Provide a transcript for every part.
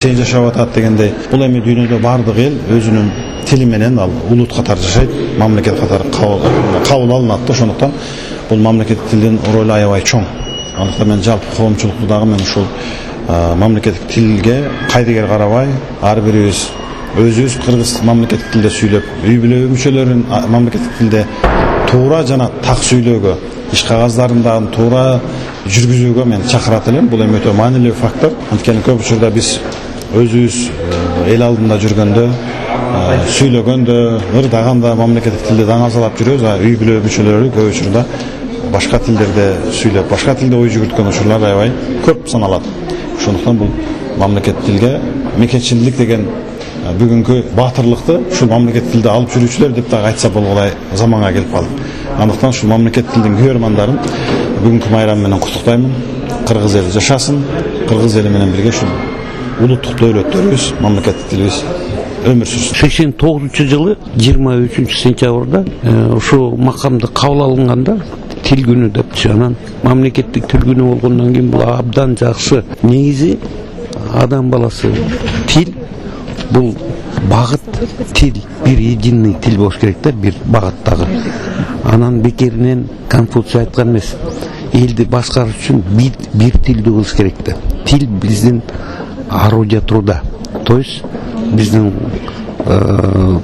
Сен жашап атат дегендей, бул эми дүйнөдө бардык эл өзүнүн тили менен ал улут катары жашайт, мамлекет катары кабыл алынат да. Ошондуктан бул мамлекеттик тилдин ролу аябай чоң. Андыктан мен жалпы коомчулукту дагы мен ушул мамлекеттик тилге кайдыгер карабай, ар бирибиз өзүбүз кыргыз мамлекеттик тилде сүйлөп, үй бүлө мүчөлөрүн мамлекеттик тилде туура жана так сүйлөөгө, иш кагаздарын туура жүргүзүүгө мен чакырат элем. Бул эми өтө маанилүү фактор. Анткени көп учурда биз өзүбүз эл алдында жүргөндө, сүйлөгөндө, ырдаганда мамлекеттик тилде даңазалап жүрөбүз, а үй бүлө мүчөлөрү көп учурда башка тилдерде сүйлөп, башка тилде ой жүгүрткөн учурлар аябай көп саналат. Ошондуктан бул мамлекеттик тилге мекенчилдик деген бүгүнкү баатырлыкты ушул мамлекеттик тилде алып жүрүүчүлөр деп дагы айтса болгулай заманга келип калдык. Андыктан ушул мамлекеттик тилдин күйөрмандарын бүгүнкү майрам менен куттуктаймын. Кыргыз эли жашасын, кыргыз эли менен бирге ушул улуттук дөөлөттөрүбүз, мамлекеттик тилибиз өмүр сүрсүн. 89-жылы 23-сентябрда ушул макамды кабыл алынганда тил күнү депчи, анан мамлекеттик тил күнү болгондон кийин бул абдан жакшы. Негизи адам баласы тил бул багыт, тил бир единый тил болуш керек да, бир багыттагы. Анан бекеринен Конфуций айткан эмес, элди башкарыш үчүн бир тилди кылыш керек да. Тил биздин орудие труда, то есть биздин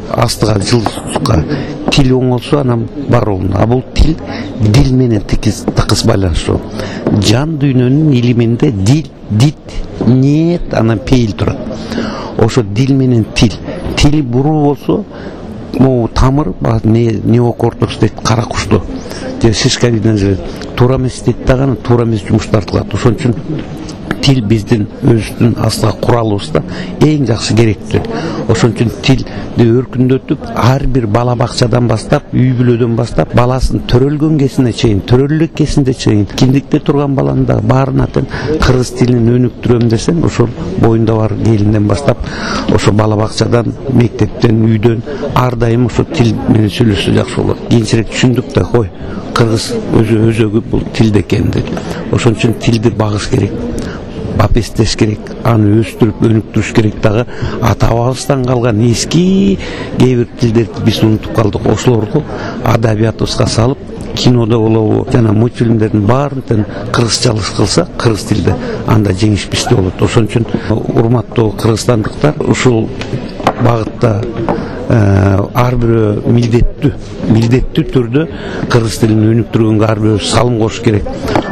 астыга жылчукка тил оңолсо анан бар болду. А бул тил дил менен тыкыз байланыштуу. Жан дүйнөнүн илиминде дил, дит, нет, анан пейил турат. Ошо дил менен тил буруу болсо, могу тамыр неокортекс дейт, кара кушту же шишковидный желез туура эмес дейт дагы, анан туура эмес жумуш тартылат. Ошон үчүн тил биздин өзүбүздүн астыга куралыбызда эң жакшы керектүү. Ошон үчүн тилди өркүндөтүп, ар бир бала бакчадан баштап, үй бүлөдөн баштап, баласын төрөлгөн кезине чейин, төрөлүк кезинде чейин, киндикте турган баланы да баарына тең кыргыз тилин өнүктүрөм десең, ошол боюнда бар келинден баштап, ошо бала бакчадан, мектептен, үйдөн ар дайым ошо тил менен сүйлөшсө жакшы болот. Кийинчерээк түшүндүк да, кой, кыргыз өзөгү бул тилде экен деп. Ошон үчүн тилди багыш керек, бапестеш керек, аны өстүрүп, өнүктүрүш керек дагы. Ата бабабыздан калган эски кээ бир тилдерди биз унутуп калдык. Ошолорду адабиятыбызга салып, кинодо болобу, жана мультфильмдердин баарын тең кыргызчалык кылса, кыргыз тилде, анда жеңиш бизде болот. Ошон үчүн урматтуу кыргызстандыктар, ушул багытта ар бирөө милдеттүү түрдө кыргыз тилин өнүктүргөнгө ар бирөө салым кош керек.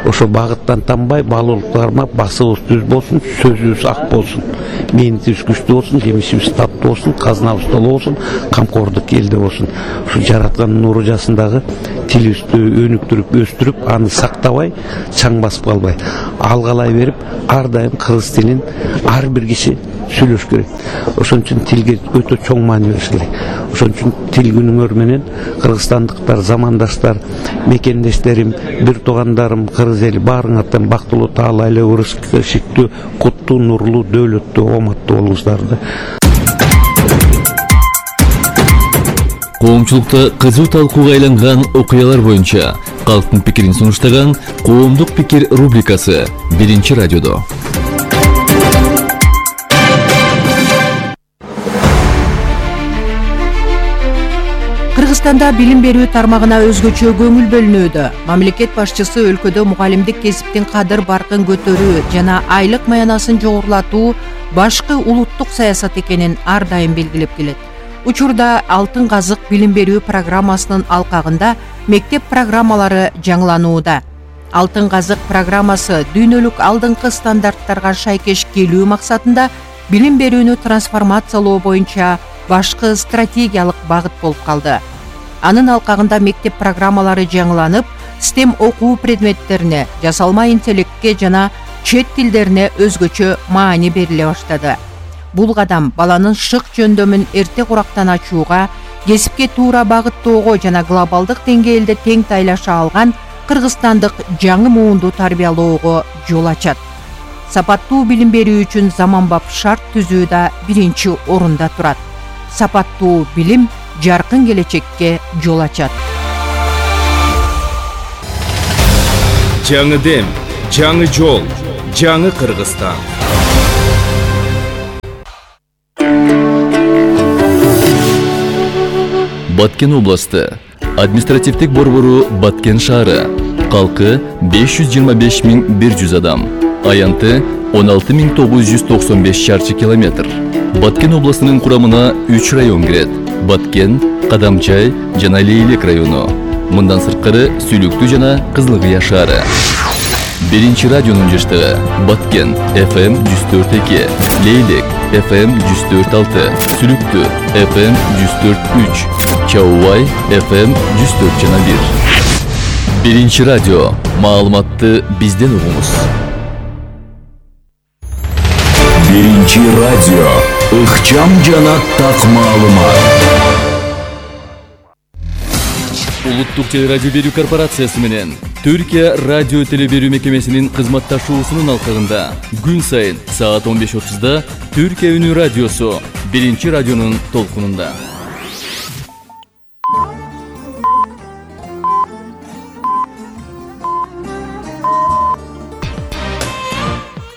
Ошо багыттан танбай, балуулук кармап, басыбыз түз болсун, сөзүбүз ак болсун, мээнетибиз күчтүү болсун, жемишибиз таттуу болсун, казнабыз толуу болсун, камкордук элде болсун. Ушу жараткандын нуру жасындагы тилибизди өнүктүрүп, өстүрүп, аны сактабай, чаң басып калбай, алгалай берип, ар дайым кыргыз тилин ар бир киши сүйлөш керек. Ошон үчүн тилге өтө чоң маани бериш керек. Ошон үчүн тил күнүңөр менен кыргызстандыктар, замандаштар, мекендештерим, бир туугандарым, кыргыз эли баарыңардан бактылуу, таалайлуу, ырыскы, куттуу, нурлуу, дөөлөттүү, ооматтуу болуңуздарды. Коомчулукта кызуу талкууга айланган окуялар боюнча калктын пикирин сунуштаган Коомдук пикир рубрикасы Биринчи радиодо. Кыргызстанда билим берүү тармагына өзгөчө көңүл бөлүнүүдө. Мамлекет башчысы өлкөдө мугалимдик кесиптин кадыр баркын көтөрүү жана айлык маянасын жогорулатуу башкы улуттук саясат экенин ар дайым белгилеп келет. Учурда Алтын казык билим берүү программасынын алкагында мектеп программалары жаңыланууда. Алтын казык программасы дүйнөлүк алдыңкы стандарттарга шайкеш келүү максатында билим берүүнү трансформациялоо боюнча башкы стратегиялык багыт болуп калды. Анын алкагында мектеп программалары жаңыланып, STEM окуу предметтерине, жасалма интеллектке жана чет тилдерине өзгөчө маани бериле баштады. Бул кадам баланын шык жөндөмүн эрте курактан ачууга, кесипке туура багыттоого жана глобалдык деңгээлде тең тайлаша алган кыргызстандык жаңы муунду тарбиялоого жол ачат. Сапаттуу билим берүү үчүн заманбап шарт түзүү да биринчи орунда турат. Сапаттуу билим жаркын келечекке жол ачат. Жаңы дем, жаңы жол, жаңы Кыргызстан. Баткен областы. Административдик борбору Баткен шаары. Калкы 525.100 адам. Аянты 16.995 шарчы километр. Баткен областынын курамына 3 район кирет. Баткен, Кадамчай жана Лейлек району. Мындан сырткары Сүлүктүү жана Кызылкыя шаары. Биринчи радионун жаштыгы Баткен FM 104.2, Лейлек FM 104.6, Сүлүктүү FM 104.3, Чаубай FM 104.1. Биринчи радио. Маалыматты бизден угуңуз. Биринчи радио. Ыкчам жана так маалымат. Улуттук телерадио берүү корпорациясы менен Түркия радио телеберүү мекемесинин кызматташуусунун алкагында күн сайын саат 15:30 Түркия үнү радиосу биринчи радионун толкунунда.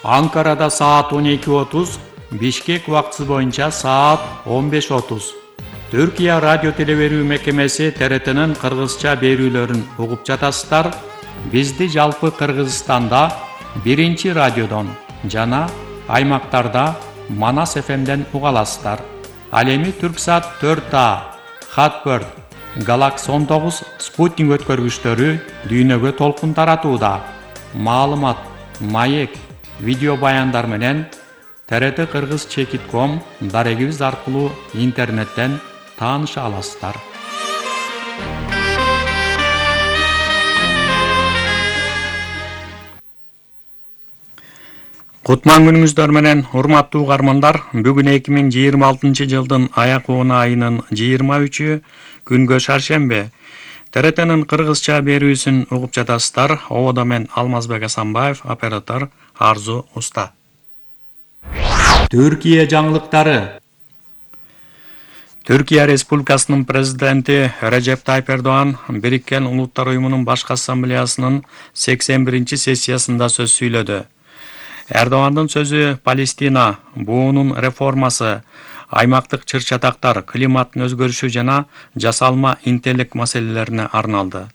Анкарада саат 12:30, Бишкек убактысы боюнча саат 15:30. Түркия радио телеберүү мекемеси ТРТнын кыргызча берүүлөрүн угуп жатасыздар. Бизди жалпы Кыргызстанда биринчи радиодон жана аймактарда Манас ФМден уга аласыздар. Ал эми Түрксат 4А, Хатберд, Галакс 19 спутник өткөргүчтөрү дүйнөгө толкун таратууда. Маалымат, маек, видео баяндар менен ТРТ Кыргыз Чекит.ком дарегибиз аркылуу интернеттен тааныша аласыздар. Кутман күнүңүздөр менен урматтуу угармандар, бүгүн 2026 жылдын аяк угуна айынын 23-ү күнгө шаршембе. ТРТнын кыргызча берүүсүн угуп жатасыздар. Ободо мен Алмазбек Асанбаев, оператор Арзу Уста. Түркия жаңылыктары. Түркия Республикасынын президенти Режеп Тайип Эрдоğan Бириккен Улуттар уюмунун башкы ассамблеясынын 81-сессиясында сөз сүйлөдү. Эрдоğan'дын сөзү Палестина, буунун реформасы, аймактык чыр-чатактар, климаттын өзгөрүшү жана жасалма интеллект маселелерине арналды.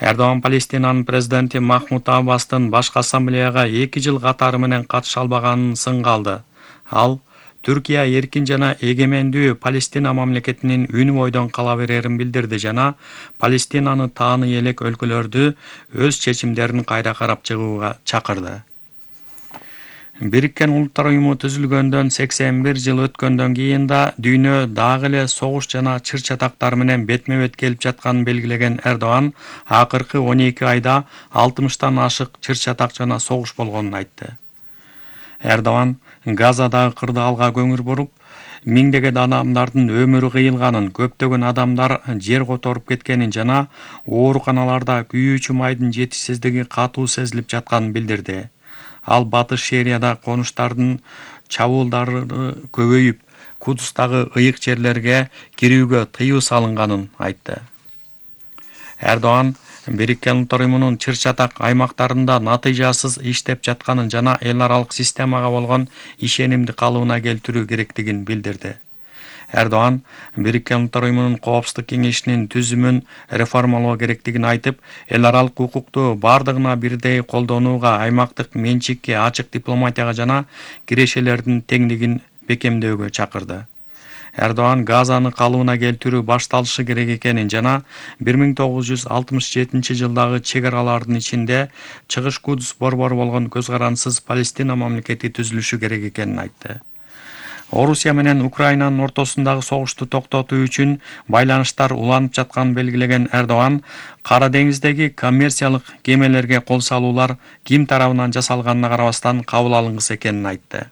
Эрдоğan Палестинанын президенти Махмуд Аббастын башкы ассамблеяга 2 жыл катары менен катыша албаганын сынга алды. Ал Түркия эркин жана эгемендүү Палестина мамлекетинин үнү бойдон кала берерин билдирди жана Палестинаны тааны элек өлкөлөрдү өз чечимдерин кайра карап чыгууга чакырды. Бириккен Улуттар уюму түзүлгөндөн 81 жыл өткөндөн кийин да дүйнө дагы эле согуш жана чыр-чатактар менен бетме-бет келип жатканын белгилеген Эрдоğan акыркы 12 айда 60тан ашык чыр-чатак жана согуш болгонун айтты. Эрдоğan Газадагы кырдаалга көңүл буруп, миңдеген адамдардын өмүрү кыйылганын, көптөгөн адамдар жер которуп кеткенин жана ооруканаларда күйүүчү майдын жетишсиздиги катуу сезилип жатканын билдирди. Ал Батыш Шерияда конуштардын чабуулдары көбөйүп, Кудустагы ыйык жерлерге кирүүгө тыюу салынганын айтты. Эрдоğan Бириккен Улуттар уюмунун чыр-чатак аймактарында натыйжасыз иштеп жатканын жана эл аралык системага болгон ишенимди калыбына келтирүү керектигин билдирди. Эрдоğan Бириккен Улуттар уюмунун Коопсуздук кеңешинин түзүмүн реформалоо керектигин айтып, эл аралык укукту бардыгына бирдей колдонууга, аймактык менчикке ачык дипломатияга жана кирешелердин теңдигин бекемдөөгө чакырды. Эрдоğan Газаны калыбына келтирүү башталышы керек экенин жана 1967 жылдагы чек-аралардын ичинде Чыгыш Кудус борбору болгон көз карансыз Палестина мамлекети түзүлүшү керек экенин айтты. Орусия менен Украинанын ортосундагы согушту токтотуу үчүн байланыштар уланып жатканын белгилеген Эрдоğan Кара деңиздеги коммерциялык кемелерге кол салуулар ким тарабынан жасалганына карабастан кабыл алынгысы экенин айтты.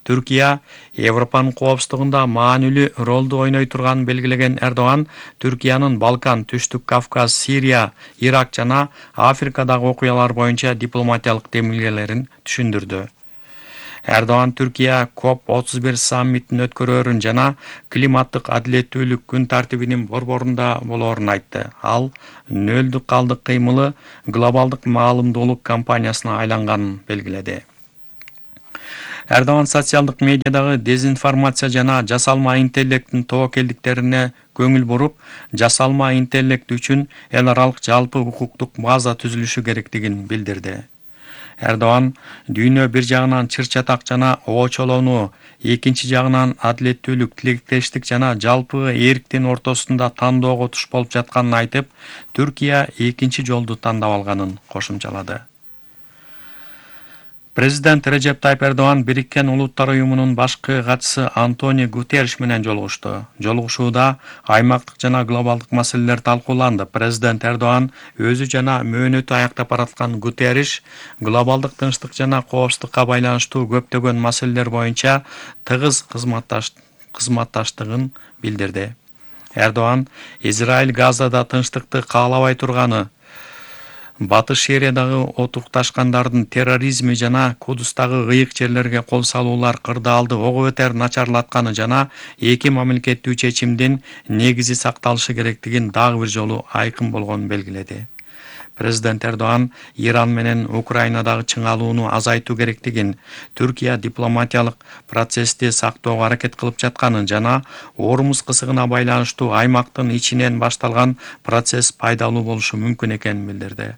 Түркия Европанын коопсуздугунда маанилүү ролду ойной турганын белгилеген Эрдоğan Түркиянын Балкан, Түштүк Кавказ, Сирия, Ирак жана Африкадагы окуялар боюнча дипломатиялык демилгелерин түшүндүрдү. Эрдоğan Түркия COP31 саммитин өткөрөөрүн жана климаттык адилеттүүлүк күн тартибинин борборунда болоорун айтты. Ал нөлдүк калдык кыймылы глобалдык маалымдуулук кампаниясына айланганын белгиледи. Эрдоган социалдык медиадагы дезинформация жана жасалма интеллекттин тобокелдиктерине көңүл буруп, жасалма интеллект үчүн эл аралык жалпы укуктук база түзүлүшү керектигин билдирди. Эрдоган дүйнө бир жагынан чыр-чатак жана оочолоону, экинчи жагынан адилеттүүлүк, тилектештик жана жалпы эрктин ортосунда тандоого туш болуп жатканын айтып, Түркия экинчи жолду тандап алганын кошумчалады. Президент Режеп Тайип Эрдоган Бириккен Улуттар Уюмунун башкы катчысы Антонио Гутерриш менен жолугушту. Жолугушууда аймактык жана глобалдык маселелер талкууланды. Президент Эрдоган өзү жана мөөнөтү аяктап бараткан Гутерриш глобалдык тынчтык жана коопсуздукка байланыштуу көптөгөн маселелер боюнча тыгыз кызматташтыгын билдирди. Эрдоган Израиль Газада тынчтыкты каалабай турганы, Батыш Сириядагы отукташкандардын терроризми жана Кудустагы ыйык жерлерге кол салуулар кырдаалды ого бетер начарлатканы жана эки мамлекеттүү чечимдин негизи сакталышы керектигин дагы бир жолу айкын болгонун белгиледи. Президент Эрдоган Иран менен Украинадагы чыңалууну азайтуу керектигин, Түркия дипломатиялык процессти сактоого аракет кылып жатканын жана Ормуз кысыгына байланыштуу аймактын ичинен башталган процесс пайдалуу болушу мүмкүн экенин билдирди.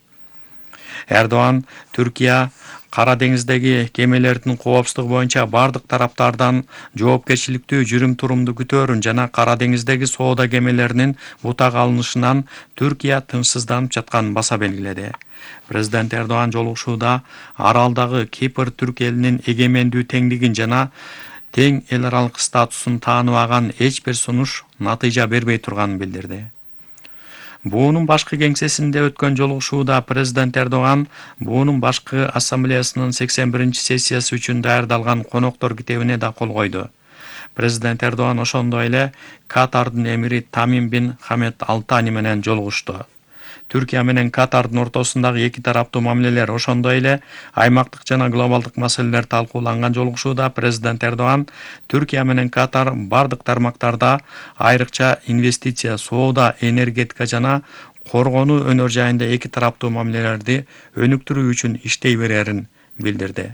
Эрдоган Түркия Кара деңиздеги кемелердин коопсуздугу боюнча бардык тараптардан жоопкерчиликтүү жүрүм-турумду күтөөрүн жана Кара деңиздеги соода кемелеринин бутак алынышынан Түркия тынчсызданып жатканын баса белгиледи. Президент Эрдоган жолугушууда аралдагы Кипр түрк элинин эгемендүү теңдигин жана тең эл аралык статусун тааныбаган эч бир сунуш натыйжа бербей турганын билдирди. Буунун башкы кеңсесинде өткөн жолугушууда президент Эрдоган Буунун башкы ассамблеясынын 81-сессиясы үчүн даярдалган коноктор китебине да кол койду. Президент Эрдоган ошондой эле Катардын эмири Тамим бин Хамед Алтани менен жолугушту. Түркия менен Катардын ортосундагы эки тараптуу мамилелер, ошондой эле аймактык жана глобалдык маселелер талкууланган жолугушууда президент Эрдоган Түркия менен Катар бардык тармактарда, айрыкча инвестиция, соода, энергетика жана коргонуу өнөр жайында эки тараптуу мамилелерди өнүктүрүү үчүн иштей берерин билдирди.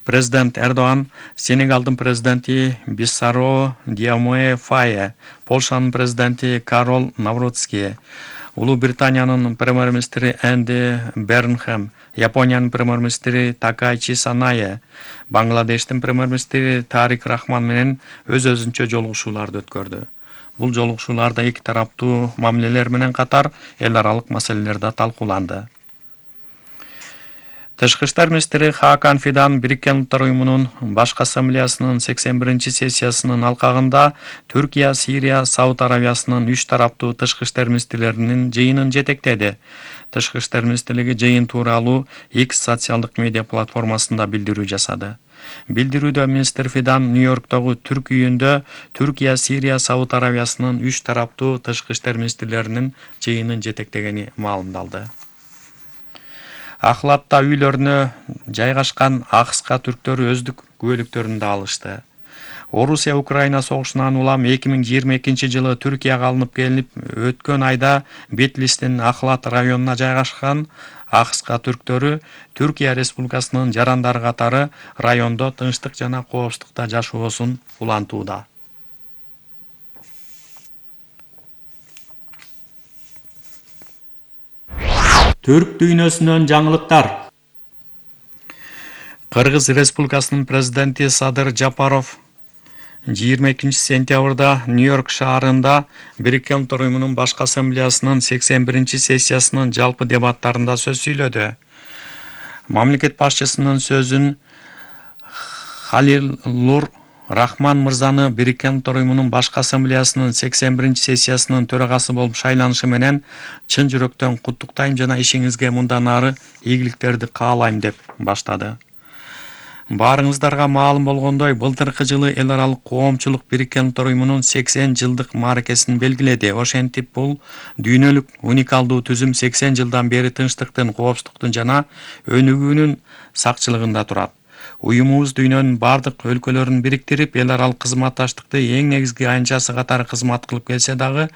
Президент Эрдоган Сенегалдын президенти Биссаро Диомоe Фае, Полшанын президенти Карол Навроцки, Улуу Британиянын премьер-министри Энди Бернхэм, Япониянын премьер-министри Такайчи Санае, Бангладештин премьер-министри Тарик Рахман менен өз-өзүнчө жолугушууларды өткөрдү. Бул жолугушууларда эки тараптуу мамилелер менен катар эл аралык маселелер да талкууланды. Тышкы иштер министри Хакан Фидан Бириккен Улуттар Уюмунун башкы ассамблеясынын 81-сессиясынын алкагында Түркия, Сирия, Сауд Аравиясынын 3 тараптуу тышкы иштер министрлеринин жыйынын жетектеди. Тышкы иштер министрлиги жыйын тууралуу X социалдык медиа платформасында билдирүү жасады. Билдирүүдө министр Фидан Нью-Йорктогу Түрк үйүндө Түркия, Сирия, Сауд Аравиясынын 3 тараптуу тышкы иштер министрлеринин жыйынын жетектегени маалымдалды. Ахлатта үйлөрүнө жайгашкан АКШ түрктөрү өздүк күбөлүктөрүн да алышты. Орусия-Украина согушунан улам 2022 жылы Түркияга алынып келип, өткөн айда Бетлистин Ахлат районуна жайгашкан АКШ түрктөрү Түркия Республикасынын жарандары катары райондо тынчтык жана коопсуздукта жашоосун улантууда. Түрк дүйнөсүнөн жаңылыктар. Кыргыз Республикасынын президенти Садыр Жапаров 22-сентябрда Нью-Йорк шаарында Бириккен Улуттар Уюмунун башкы ассамблеясынын 81-сессиясынын жалпы дебаттарында сөз сүйлөдү. Мамлекет башчысынын сөзүн Халилур Рахман мырзаны Бириккен Улуттар Уюмунун башкы ассамблеясынын 81-сессиясынын төрагасы болуп шайланышы менен чын жүрөктөн куттуктайм жана ишиңизге мындан ары ийгиликтерди каалайм деп баштады. Баарыңыздарга маалым болгондой, былтыркы жылы эл аралык коомчулук Бириккен Улуттар Уюмунун 80 жылдык мааракесин белгиледи. Ошентип бул дүйнөлүк уникалдуу түзүм 80 жылдан бери тынчтыктын, коопсуздуктун жана өнүгүүнүн сакчылыгында турат. Уюмубуз дүйнөнүн бардык өлкөлөрүн бириктирип, эл аралык кызматташтыкты эң негизги аянтчасы катары кызмат кылып келсе дагы,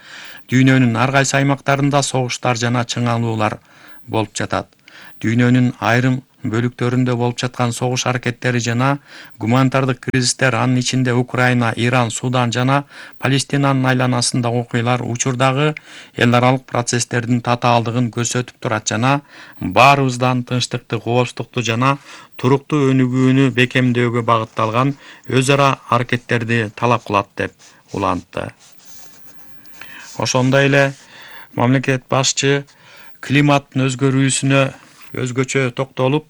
дүйнөнүн ар кайсы аймактарында согуштар жана чыңалуулар болуп жатат. Дүйнөнүн айрым бөлүктөрүндө болуп жаткан согуш аракеттери жана гуманитардык кризистер, анын ичинде Украина, Иран, Судан жана Палестинанын айланасындагы окуялар учурдагы эл аралык процесстердин татаалдыгын көрсөтүп турат жана баарыбыздан тынчтыкты, коопсуздукту жана туруктуу өнүгүүнү бекемдөөгө багытталган өз ара аракеттерди талап кылат деп улантты. Ошондой эле мамлекет башчы климаттын өзгөрүүсүнө өзгөчө токтолуп,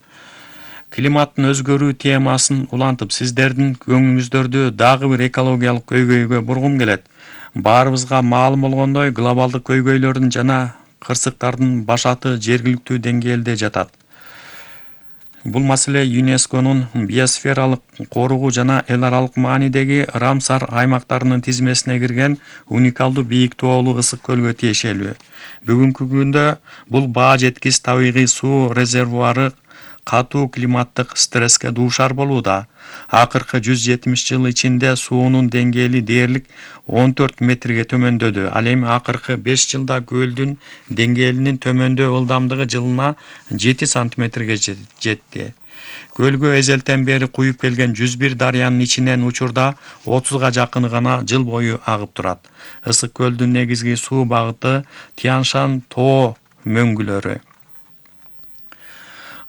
климаттын өзгөрүү темасын улантып, сиздердин көңүлүңүздөрдү дагы бир экологиялык көйгөйгө бургум келет. Баарыбызга маалым болгондой, глобалдык көйгөйлөрдүн жана кырсыктардын башаты жергиликтүү деңгээлде жатат. Бул маселе ЮНЕСКОнун биосфералык коруугу жана эл аралык маанидеги Рамсар аймактарынын тизмесине кирген уникалдуу бийик тоолуу ысык көлгө тиешелүү. Бүгүнкү күндө бул баа жеткис табигый суу резервуары катуу климаттык стресске дуушар болууда. Акыркы 170 жыл ичинде суунун деңгээли дээрлик 14 метрге төмөндөдү. Ал эми акыркы 5 жылда көлдүн деңгээлинин төмөндөө ылдамдыгы жылына 7 сантиметрге жетти. Көлгө эзелтен бери куюп келген 101 дарыянын ичинен учурда 30га жакыны гана жыл бою агып турат. Ысык көлдүн негизги суу багыты Тянь-Шань тоо мөңгүлөрү.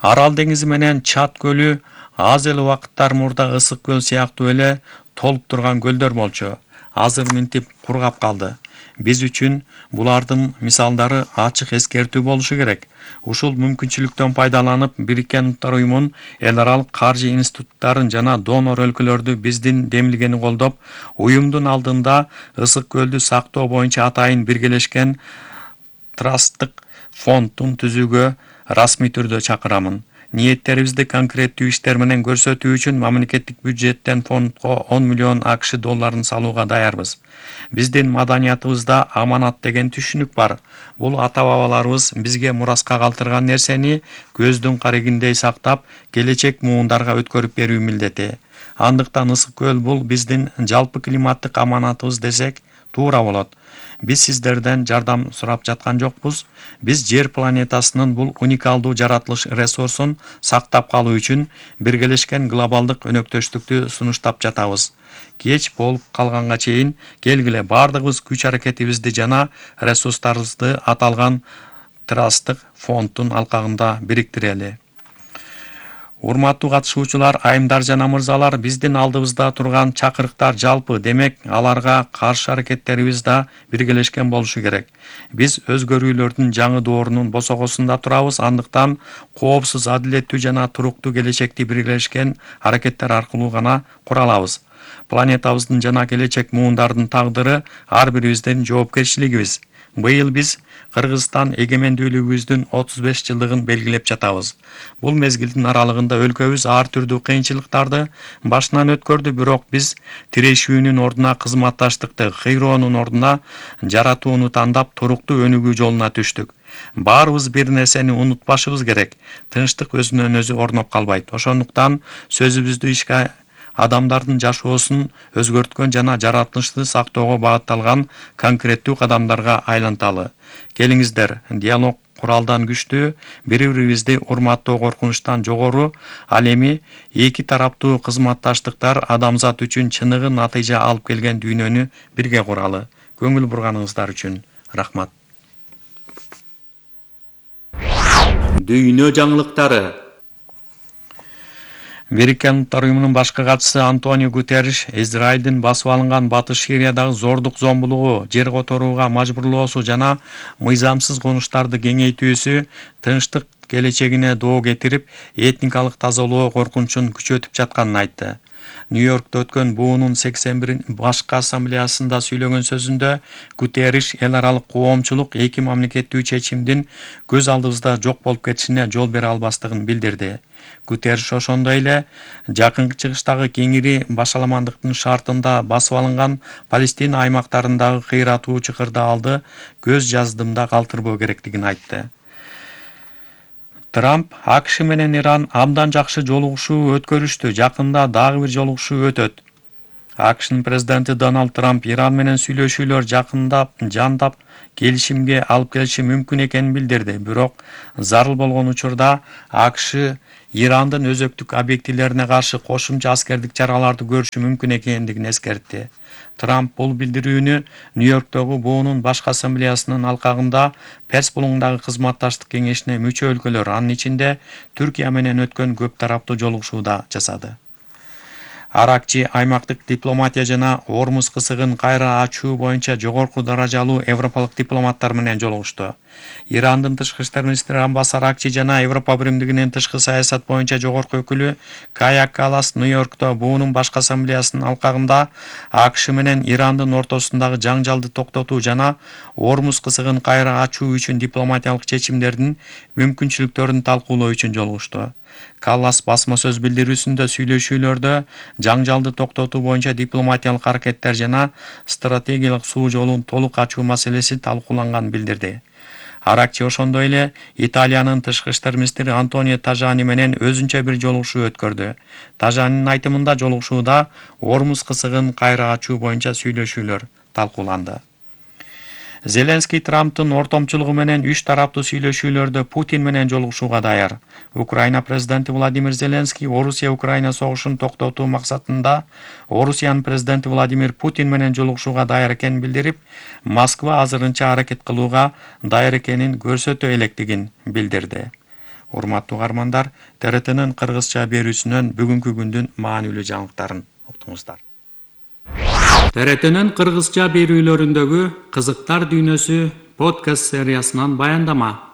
Арал деңизи менен Чад көлү аз эле убакыттар мурда ысык көл сыяктуу эле толуп турган көлдөр болчу. Азыр минтип кургап калды. Биз үчүн булардын мисалдары ачык эскертүү болушу керек. Ушул мүмкүнчүлүктөн пайдаланып, Бириккен Уттар уюмунун эл аралык каржы институттарын жана донор өлкөлөрдү биздин демилгени колдоп, уюмдун алдында ысык көлдү сактоо боюнча атайын биргелешкен трасттык фондун түзүүгө расмий түрдө чакырамын. Ниеттерибизди конкреттүү иштер менен көрсөтүү үчүн мамлекеттик бюджеттен фондго 10 миллион АКШ долларын салууга даярбыз. Биздин маданиятыбызда аманат деген түшүнүк бар. Бул ата-бабаларыбыз бизге мураска калтырган нерсени көздүн карегиндей сактап, келечек муундарга өткөрүп берүү милдети. Андыктан ысык көл бул биздин жалпы климаттык аманатыбыз десек туура болот. Биз сиздерден жардам сурап жаткан жокпуз. Биз жер планетасынын бул уникалдуу жаратылыш ресурсун сактап калуу үчүн биргелешкен глобалдык өнөктөштүктү сунуштап жатабыз. Кеч болуп калганга чейин келгиле бардыгыбыз күч аракетибизди жана ресурстарыбызды аталган трасттык фонддун алкагында бириктирели. Урматтуу катышуучулар, айымдар жана мырзалар, биздин алдыбызда турган чакырыктар жалпы, демек аларга каршы аракеттерибиз да биргелешкен болушу керек. Биз өзгөрүүлөрдүн жаңы доорунун босогосунда турабыз, андыктан коопсуз, адилеттүү жана туруктуу келечекти биргелешкен аракеттер аркылуу гана кура алабыз. Планетабыздын жана келечек муундардын тагдыры ар бирибиздин жоопкерчилигибиз. Быйыл биз Кыргызстан эгемендүүлүгүбүздүн 35 жылдыгын белгилеп жатабыз. Бул мезгилдин аралыгында өлкөбүз ар түрдүү кыйынчылыктарды башынан өткөрдү, бирок биз тирешүүнүн ордуна кызматташтыкты, кыйроонун ордуна жаратууну тандап, туруктуу өнүгүү жолуна түштүк. Баарыбыз бир нерсени унутпашыбыз керек. Тынчтык өзүнөн өзү орноп калбайт. Ошондуктан сөзүбүздү ишке адамдардын жашоосун өзгөрткөн жана жаратылышты сактоого багытталган конкреттүү кадамдарга айланталы. Келиңиздер, диалог куралдан күчтүү, бири-бирибизди урматтоо коркунучтан жогору, ал эми эки тараптуу кызматташтыктар адамзат үчүн чыныгы натыйжа алып келген дүйнөнү бирге куралы. Көңүл бурганыңыздар үчүн рахмат. Дүйнө жаңылыктары. Бириккен Уттар уюмунун башкы катчысы Антонио Гутерриш Израилдин басып алынган Батыш Сириядагы зордук зомбулугу, жер которууга мажбурлоосу жана мыйзамсыз конуштарды кеңейтүүсү тынчтык келечегине доо кетирип, этникалык тазалоо коркунучун күчөтүп жатканын айтты. Нью-Йоркто өткөн буунун 81 башкы ассамблеясында сүйлөгөн сөзүндө Гутерриш эл аралык коомчулук эки мамлекеттүү чечимдин көз алдыбызда жок болуп кетишине жол бере албастыгын билдирди. Гутерриш ошондой эле жакынкы чыгыштагы кеңири башаламандыктын шартында басып алынган Палестина аймактарындагы кыйратуу чыкырдаалды көз жаздымда калтырбоо керектигин айтты. Трамп АКШ менен Иран абдан жакшы жолугушуу өткөрүштү, жакында дагы бир жолугушуу өтөт. АКШнын президенти Дональд Трамп Иран менен сүйлөшүүлөр жандап келишимге алып келиши мүмкүн экенин билдирди. Бирок зарыл болгон учурда АКШ Ирандын өзөктүк объектилерине каршы кошумча аскердик чараларды көрүшү мүмкүн экендигин эскертти. Трамп бул билдирүүнү Нью-Йорктогу БУнун башкы ассамблеясынын алкагында Перс булуңундагы кызматташтык кеңешине мүчө өлкөлөр, анын ичинде Түркия менен өткөн көп тараптуу жолугушууда жасады. Аракчи аймактык дипломатия жана Ормуз кысыгын кайра ачуу боюнча жогорку даражалуу европалык дипломаттар менен жолугушту. Ирандын тышкы иштер министри Аббас Аракчи жана Европа биримдигинин тышкы саясат боюнча жогорку өкүлү Кая Каллас Нью-Йоркто БУнун башкы ассамблеясынын алкагында АКШ менен Ирандын ортосундагы жаңжалды токтотуу жана Ормуз кысыгын кайра ачуу үчүн дипломатиялык чечимдердин мүмкүнчүлүктөрүн талкуулоо үчүн жолугушту. Каллас басма сөз билдирүүсүндө сүйлөшүүлөрдө жаңжалды токтотуу боюнча дипломатиялык аракеттер жана стратегиялык суу жолун толук ачуу маселеси талкууланганын билдирди. Аракчи ошондой эле Италиянын тышкы иштер министри Антонио Тажани менен өзүнчө бир жолугушуу өткөрдү. Тажанинин айтымында жолугушууда Ормуз кысыгын кайра ачуу боюнча сүйлөшүүлөр талкууланды. Зеленский Трамптын ортомчулугу менен үч тараптуу сүйлөшүүлөрдө Путин менен жолугушууга даяр. Украина президенти Владимир Зеленский Орусия-Украина согушун токтотуу максатында Орусиянын президенти Владимир Путин менен жолугушууга даяр экенин билдирип, Москва азырынча аракет кылууга даяр экенин көрсөтө электигин билдирди. Урматтуу угармандар, ТРТнын кыргызча берүүсүнөн бүгүнкү күндүн маанилүү жаңылыктарын уктуңуздар. ТРТнын кыргызча берүүлөрүндөгү кызыктар дүйнөсү подкаст сериясынан баяндама.